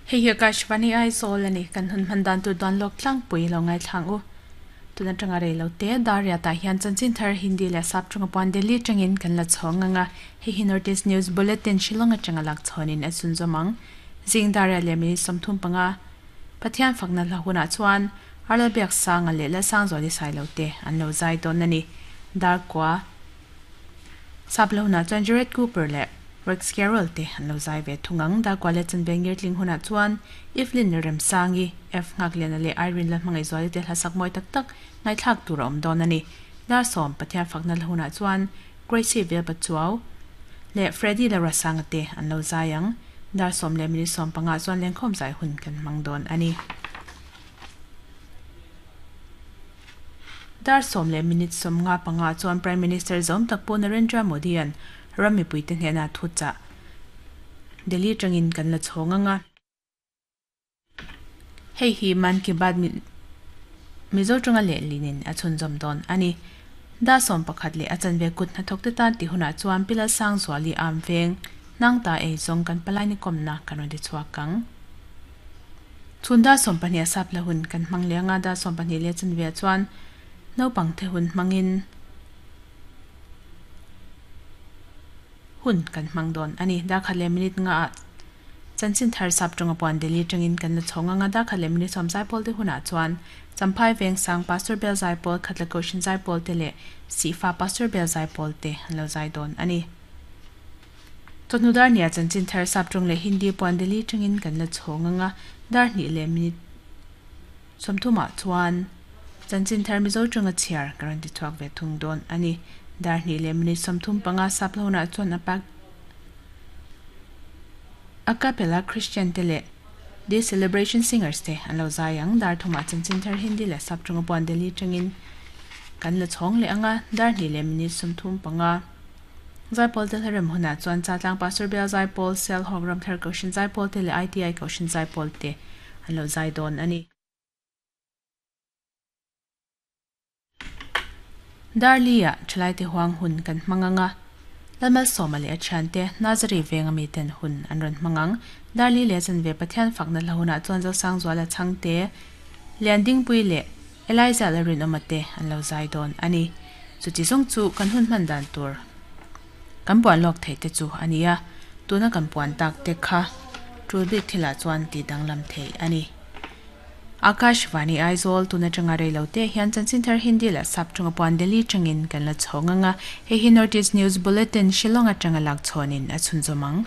Hei hi Akashvani Aizawl a ni, kan hun hman dan tur duan lawk tlangpui lo ngaithlang u. Tun atanga rei lo te, Dariat ah hian chanchin thar Hindi leh Sap tawng puan Delhi atangin kan la chhawng ang a, hei hi North East News Bulletin Shillong atanga lak chhawn in a chhunzawm ang. Zing Dariat leh minute 35 Pathian fakna hla hunah chuan Arlalbiak Sanga leh Lalsangzuali Sailo te an lo zai dawn a ni. Darkua Sap hla hunah chuan Jared Cooper leh Rex Carroll te an lo zai ve thung ang. Darkua leh Chanve Ngirtling hunah chuan Evelyn Remsangi, F Nghakliana leh Irene Lalhmangaihzuali te hla sak mawi tak tak ngaihthlak tur a awm dawn a ni. Dar sawm Pathian fakna hla hunah chuan Gracie Velpachuau leh Freddy Lalrasanga te an lo zai ang. Dar sawm leh minute 15 ah chuan lengkhawm zai hun kan hmang dawn a ni. Dar sawm leh minute 55 ah chuan Prime Minister zawm tak Pu Narendra Modi-a'n ram mipuite hnenah thu chah Delhi atangin kan la chhawng ang a. Hei hi Mann Ki Baat Mizo tanga lehlinin a chhunzawm dawn a ni. Dar 11 leh a chanve kut hnathawkte tan tih hunah chuan Pi Lalsangzuali am veng hnang ta ei zawng kan palai ni kawmna kan rawn ti chhuak ang. Chhun dar 12 a sap la hun kan hmang leh anga dar 12 leh chanve ah chuan naupang the hun hmangin hun kan hmang dawn a ni. Dar khat leh minute nga ah chanchin thar sap tawnga puan Delhi atangin kan la chhawng anga dar khat leh minute 10 zaipawl te hunah chuan Champhai veng sang Pastor Bel Zaipawl Khatla Kohhran Zaipawl te leh Sihfa Pastor Bel Zaipawl te an lo zai dawn a ni. Chawhnu dar hnih ah chanchin thar sap tawng leh Hindi puan Delhi atangin kan la chhawng anga dar hnih leh minute 30 ah chuan chanchin thar Mizo tawnga chhiar ka rawn ti chhuak ve thung dawn a ni. Dar hnih leh minute 35 sap hlawhnah chuan a pak A cappella Christian te leh The Celebration Singers te an lo zai ang. Dar thumah chanchin thar Hindi leh Sap tawnga puan Delhi atangin kan la chhawng leh ang a, dar hnih leh minute 35. Zaipawl te hlarem hunah chuan Chatlang Pastor Bial Zaipawl, Sialhawk Ramthar Kohhran Zaipawl te leh ITI Kohhran Zaipawl te an lo zai dawn a ni. Darli-ah thalaite huang hun kan hmang ang a, Lalmalsawma leh a thiante Nazari venga miten hun an rawn hmang ang. Darli leh chanve Pathian fakna hla hunah chuan Zosangzuala Chhangte, Liandingpui leh Eliza Lalrinawma te an lo zai dawn a ni. Chuti zawng chu kan hun hman dan tur kan puan lawk theih te chu a ni a, tuna kan puan tak te kha tul bik thilah chuan tih danglam theih a ni. Akashvani Aizawl tun atanga rei lo te hian chanchin thar Hindi leh Sap tawnga puan Delhi tangin kan la chhawng ang a, hei hi North East News Bulletin Shillong atanga lak chhawnin a chhunzawm ang.